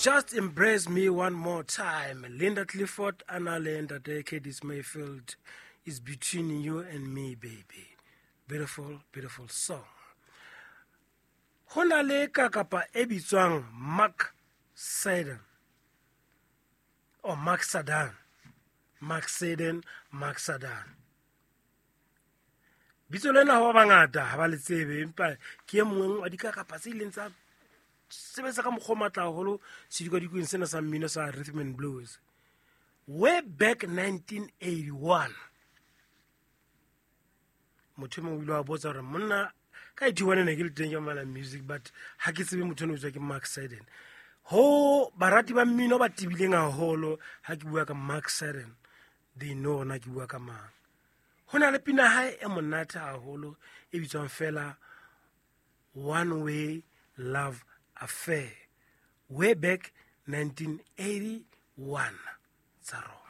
Just Embrace Me One More Time, Linda Clifford a na le ntate Curtis Mayfield, Is Between You and Me Baby. Beautiful, beautiful song. Ho na le kakapa e bitswang Mark Seiden or Mark Sadan, Mark Seiden, Mark Sadan. Bitso lena ho ba bangata ha ba le tsebe, empa ke e mongwe wa dikakapa tse ileng tsa sebetsa ka mokgwa o matla haholo sedikadikweng sena sa mmino sa rhythm and blues way back 1981. Motho e mongwe o ile wa botsa gore monna ka 81 ne ke le teng ke mamela music, but ha ke tsebe motho ene o tswa ke Mark Seiden. Ho barati ba mmino ba tibileng haholo, ha ke bua ka Mark Seiden, they know na ke bua ka mang. Ho na le pina hae e monate haholo e bitswang fela One Way Love Affair, way back 1981 tsa rona.